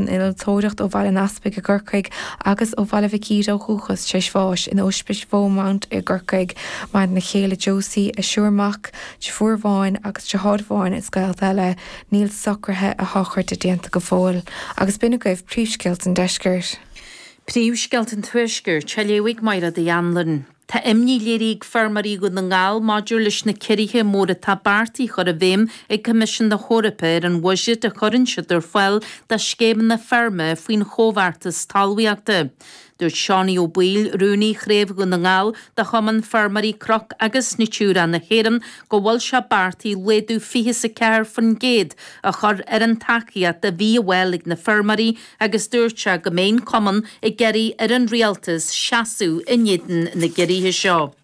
san innealtóireacht ó Bhaile an Easpaig i gCorcaigh agus ó Bhaile Mhic Íde ó dhúchas, tar éis bháis in Ospís Beaumont i gCorcaigh. Maireann a chéile Josie, a triúr mac, deirfiúr amháin agus deartháir amháin is gaolta eile. Níl socruithe a shochraide déanta go fóill. Agus b'in agaibh príomhscéalta an deiscirt. Príomhscéalta an Tuaiscirt, á léamh ag Máire Uí Anluain. Tá imní léirithe ag feirmeoirí Dhún na nGall maidir leis na ciorruithe móra atá beartaithe a chur i bhfeidhm ag Coimisiún na hEorpa ar an bhuiséad a chuireann siad ar fáil do scéimeanna feirme faoin Chomhbheartas Talmhaíochta. Dúirt Seánie Ó Baoill, Rúnaí Chraobh Dhún na nGall de Chumann Feirmeoirí Cnoc agus Natura na hÉireann, go bhfuil sé beartaithe laghdú 24% a chur ar an tacaíocht a bhí á fháil ag na feirmeoirí agus dúirt sé go mbeidh an cumann ag iarraidh ar an rialtas seasamh in éadan na gciorruithe seo.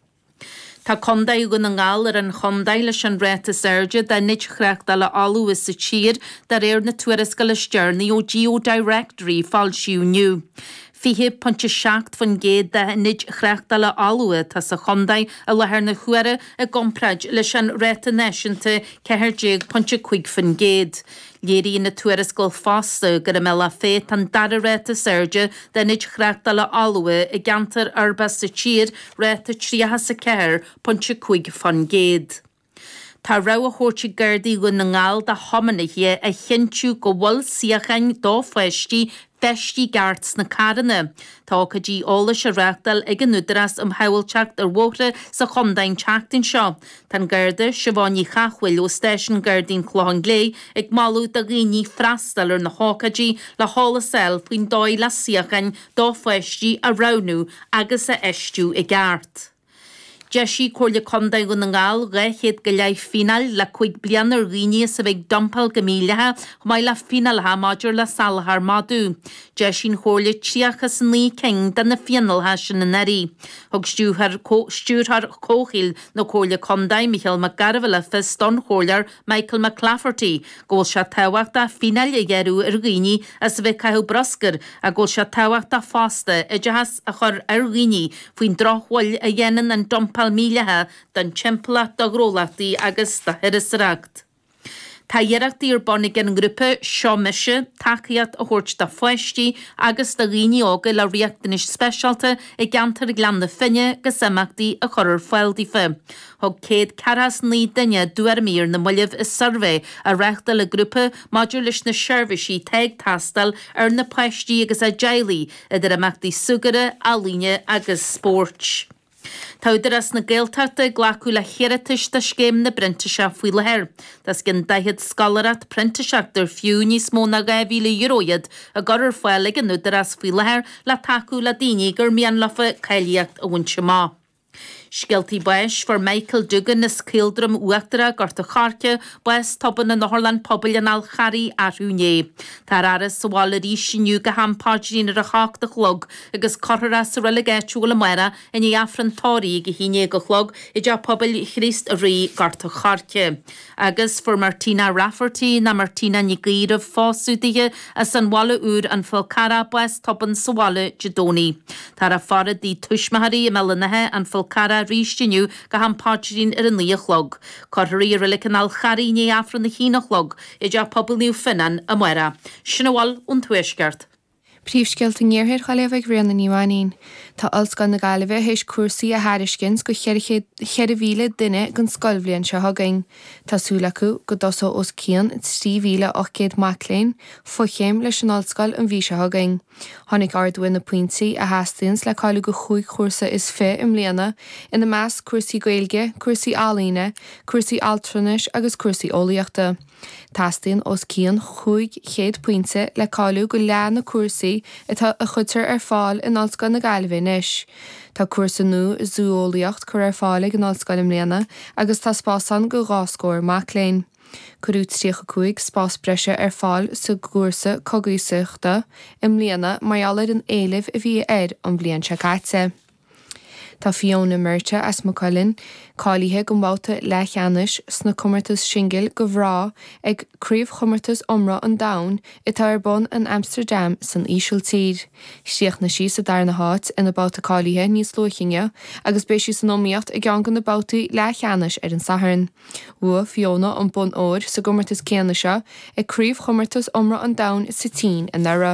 Tá Contae Dhún na nGall ar an chontae leis an ráta is airde d'ionaid thráchtála fholmha sa tír de réir na tuarascála is deireanaí ó GeoDirectory a foilsíodh inniu. 20.7% d'ionaid thráchtála fholmha atá sa chontae i láthair na huaire i gcomparáid leis an ráta náisiúnta 14.5%. Léiríonn an tuarascáil fosta gur i mBealach Féich atá an dara ráta is airde d'ionaid thráchtála fholmha i gceantar uirbeach sa tír, ráta 34.5%. Tá rabhadh á thabhairt ag Gardaí Dhún na nGall do thiománaithe a chinntiú go bhfuil suíocháin do pháistí feistithe i gceart sna carranna. Tá ócáidí eolais á reáchtáil ag an Údarás um Shábháilteacht ar Bhóithre sa chontae an tseachtain seo. Tá an Garda Siobhán Ní Chathmhaoil ó Stáisiún Gardaí an Chlocháin Léith ag moladh do dhaoine freastal ar na hócáidí le heolas a fháil faoin dóigh le suíocháin do pháistí a roghnú agus a fheistiú i gceart. D'eisigh Comhairle Contae Dhún na nGall 200 go leith fíneáil le 5 bliana ar dhaoine as a bheith ag dumpáil go mídhleathach, chomh maith le fíneálacha maidir le salachar madadh. D'eisigh an Chomhairle 39 cinn de na fíneálacha sin anuraidh. Thug Stiúrthóir Comhshaoil na Comhairle Contae, Micheál Mac Gairbheith le fios don Chomhairleoir Michael McClafferty go bhfuil sé tábhachtach fíneáil a ghearradh ar dhaoine as a bheith ag caitheamh bruscair ach go bhfuil sé tábhachtach fosta oideachas a chur ar dhaoine faoin drochbhail a dhéanann an dumpáil mhídhleathach don timpeallacht, do ghnólachtaí agus do thurasóireacht. Tá iarrachtaí ar bun ag an ngrúpa Seo Mise tacaíocht a thabhairt do pháistí agus do dhaoine óga le riachtanais speisialta i gceantar Ghleann na Finne agus imeachtaí a chur ar fáil daofa. Thug 149 duine a dtuairimí ar na mallaibh i suirbhé a reáchtáil an grúpa maidir leis na seirbhísí atá ag teastáil ar na páistí agus a dteaghlaigh, idir imeachtaí súgartha, ealaíne agus spóirt. Tá Údarás na Gaeltachta ag glacadh le hiarratais do Scéim na bPrintíseach faoi láthair. Tá os cionn 40 scoláireacht printíseachta ar fiú níos mó ná €2,000 iad á gcur ar fáil ag an Údarás faoi láthair le tacú le daoine gur mian leofa cáilíocht a bhaint amach. Scéaltaí báis, Fuair Michael Duggan as Caoldroim Uachtarach, Gort a' Choirce, bás tobann in Otharlann Pobail an Fháil Charraigh arú inné. Táthar á fhaire sa bhaile arís inniu go ham paidrín ar a hocht a chlog agus cuirfear é sa reilig áitiúil amárach i ndiaidh Aifreann tórraimh ag a haon déag a chlog i dTeach Pobail Chríost Rí, Gort a' Choirce. Agus fuair Martina Rafferty, nó Martina Nic Aoidh roimh phósadh dithe, as an Bhaile Úr, An Fál Carrach, bás tobann sa bhaile Dé Domhnaigh. Táthar á faire i dtigh tuismitheoirí i mBéal an Átha, An Fál Carrach arís inniu go ham paidrín ar a naoi a chlog. Cuirfear í i Reilig an Fháil Charraigh i ndiaidh Aifreann a haon a chlog i dTeach Pobail Naomh Fionnán amárach. Sin a bhfuil ón Tuaisceart. Príomhscéalta an Iarthair á léamh ag Ríona Ní Mhainín. Tá Ollscoil na Gaillimhe théis cúrsaí a thairiscint go 4,000 duine don scoilbhliain seo chugainn. Tá súil acu go dtosóidh os cionn 3,800 mac léinn fochéim leis an ollscoil an mhí seo chugainn. Tháinig ardú ar na pointí a theastaíonns le cáiliú go chúig chúrsa is fi i mbliana, ina measc cúrsaí Gaeilge, cúrsaí ealaíne, cúrsaí altranais agus cúrsaí eolaíochta. Teastaíonn os cionn 500 pointe le cáiliú go leath na cúrsaí atá a chuirtear ar fáil in Ollscoil na Gaillimhe anois. Tá cúrsa nua i Zú-eolaíocht curtha ar fáil ag an Ollscoil i mbliana agus tá spás ann go dhá scór mac léinn. Cuireadh 35 spás breise ar fáil sa gcúrsa Cogaíochta i mbliana mar gheall ar an éileamh a bhí air an bhliain seo caite. Tá Fiona Murtagh as Maigh Cuilinn cáilithe don bhabhta leathcheannais sna comórtais singil do mhná ag Craobhchomórtas Iomramh an Domhain atá ar bun in Amsterdam san Ísiltír. Chríochnaigh sí sa darna háit ina babhta cáilithe níos luaithe inniu agus beidh sí san iomaíocht i gceann de na babhtaí leathcheannais ar an Satharn. Bhuaigh Fiona an bonn óir sa gcomórtas céanna seo ag Craobhchomórtas Iomramh an Domhain sa tSín anuraidh.